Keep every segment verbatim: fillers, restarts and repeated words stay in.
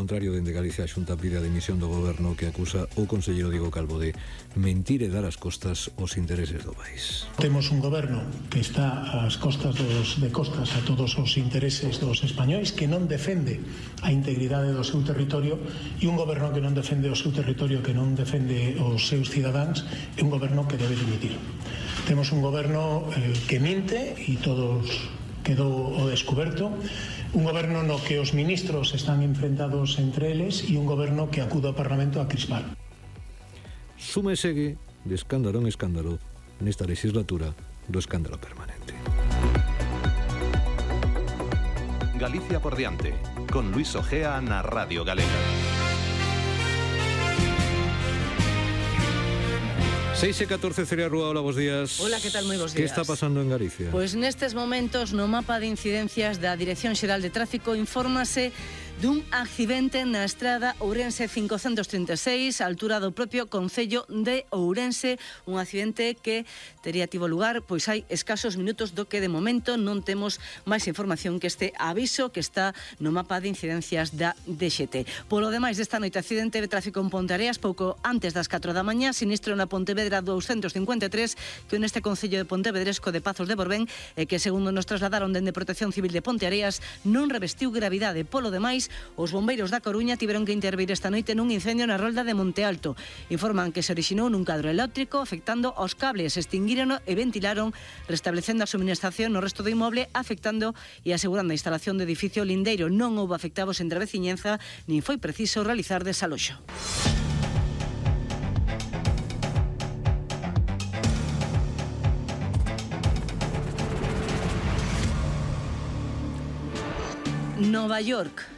contrario, dende Galicia a Xunta pide a dimisión do goberno que acusa o conselleiro Diego Calvo de mentir e dar as costas aos intereses do país. Temos un goberno que está ás costas dos, de costas a todos os intereses dos españois, que non defende a integridade do seu territorio, e un goberno que non defende o seu territorio, que non defende os seus cidadáns, é un goberno que debe dimitir. Temos un goberno eh, que minte e todos quedou o descoberto, un goberno no que os ministros están enfrentados entre eles e un goberno que acude ao Parlamento a crispar. Sume e segue de escándalo en escándalo nesta legislatura do escándalo permanente. Galicia por diante, con Luis Ojea na Radio Galega. seis e catorce, Celia Rúa, hola, bos días. Hola, que tal? Moi bos días. Que está pasando en Galicia? Pois nestes momentos no mapa de incidencias da Dirección Xeral de Tráfico infórmase dun accidente na estrada Ourense cincocentos trinta e seis, a altura do propio concello de Ourense, un accidente que tería tivo lugar pois hai escasos minutos, do que de momento non temos máis información que este aviso que está no mapa de incidencias da D X T. Polo demais, desta noite accidente de tráfico en Ponteareas pouco antes das catro da mañá, sinistro na Pontevedra doscientos cincuenta e tres, que neste concello de Pontevedresco de Pazos de Borbén, e que segundo nos trasladaron dende Protección Civil de Ponteareas non revestiu gravidade. Polo demais, os bombeiros da Coruña tiveron que intervir esta noite nun incendio na rolda de Monte Alto. Informan que se orixinou nun cadro eléctrico afectando aos cables, extinguírono e ventilaron, restablecendo a suministración no resto do inmoble, afectando e asegurando a instalación do edificio lindeiro. Non houbo afectados entre a veciñenza, nin foi preciso realizar desaloxo. Nova York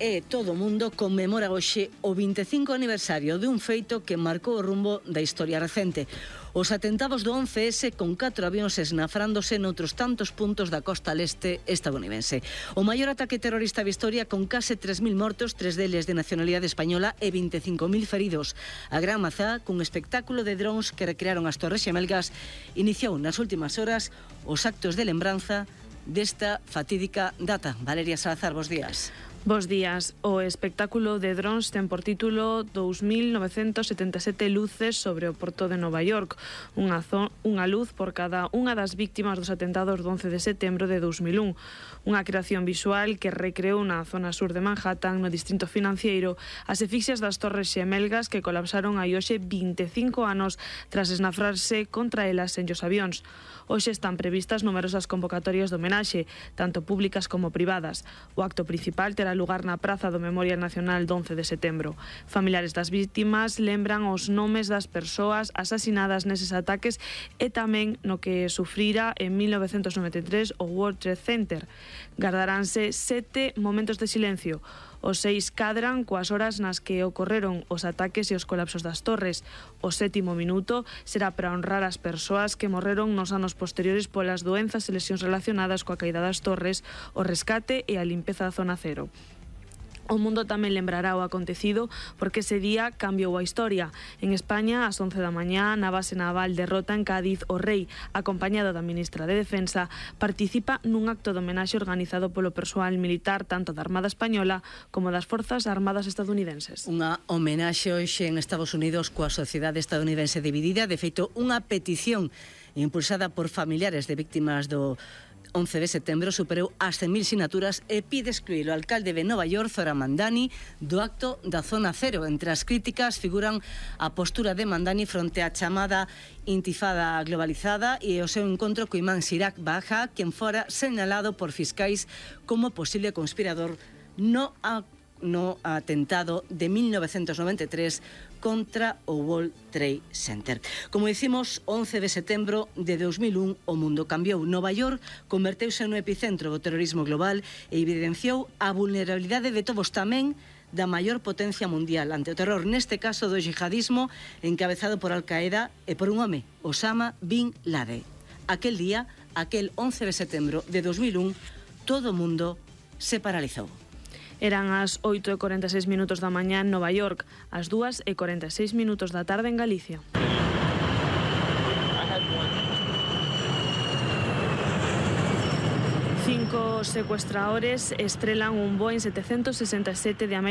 e todo o mundo conmemora hoxe o vinte e cinco aniversario de un feito que marcou o rumbo da historia recente. Os atentados do once ese, con catro avións esnafrándose noutros tantos puntos da costa leste estadounidense. O maior ataque terrorista da historia, con case tres mil mortos, tres deles de nacionalidade española e vinte e cinco mil feridos. A Gran Mazá, cun espectáculo de drons que recrearon as Torres Xemelgas, iniciou nas últimas horas os actos de lembranza desta fatídica data. Valeria Salazar, bos días. Bos días. O espectáculo de drons ten por título dous mil novecentos setenta e sete luces sobre o porto de Nova York, unha, unha luz por cada unha das víctimas dos atentados do once de setembro de dous mil un. Unha creación visual que recreou na zona sur de Manhattan, no distrito financiero, as asfixias das Torres Xemelgas que colapsaron hai hoxe vinte e cinco anos tras esnafrarse contra elas en os avións. Hoxe están previstas numerosas convocatorias de homenaxe, tanto públicas como privadas. O acto principal terá lugar na Praza do Memorial Nacional do once de setembro. Familiares das vítimas lembran os nomes das persoas asasinadas neses ataques e tamén no que sufrira en mil novecentos noventa e tres o World Trade Center. Gardaránse sete momentos de silencio. Os seis cadran coas horas nas que ocorreron os ataques e os colapsos das torres. O sétimo minuto será para honrar as persoas que morreron nos anos posteriores polas doenzas e lesións relacionadas coa caída das torres, o rescate e a limpeza da zona cero. O mundo tamén lembrará o acontecido porque ese día cambiou a historia. En España, ás once da mañá, na base naval de Rota, en Cádiz, o rei, acompañado da ministra de Defensa, participa nun acto de homenaxe organizado polo persoal militar tanto da Armada Española como das Forzas Armadas estadounidenses. Unha homenaxe hoxe en Estados Unidos coa sociedade estadounidense dividida. De feito, unha petición impulsada por familiares de víctimas do once de setembro superou as cen mil sinaturas e pide excluir o alcalde de Nova York, Zohran Mamdani, do acto da Zona Cero. Entre as críticas figuran a postura de Mamdani fronte á chamada intifada globalizada e o seu encontro co imán Sirak Baja, quen fora señalado por fiscais como posible conspirador no a no atentado de mil novecentos noventa e tres contra o World Trade Center. Como dicimos, once de setembro de dous mil un o mundo cambiou. Nova York converteuse no epicentro do terrorismo global e evidenciou a vulnerabilidade de todos, tamén da maior potencia mundial ante o terror, neste caso do yihadismo encabezado por Al-Qaeda e por un home, Osama Bin Laden. Aquel día, aquel once de setembro de dous mil un, todo o mundo se paralizou. Eran as oito e cuarenta e seis minutos da mañá en Nova York, as dúas e cuarenta e seis minutos da tarde en Galicia. Cinco secuestradores estrelan un Boeing setecientos sesenta e sete de América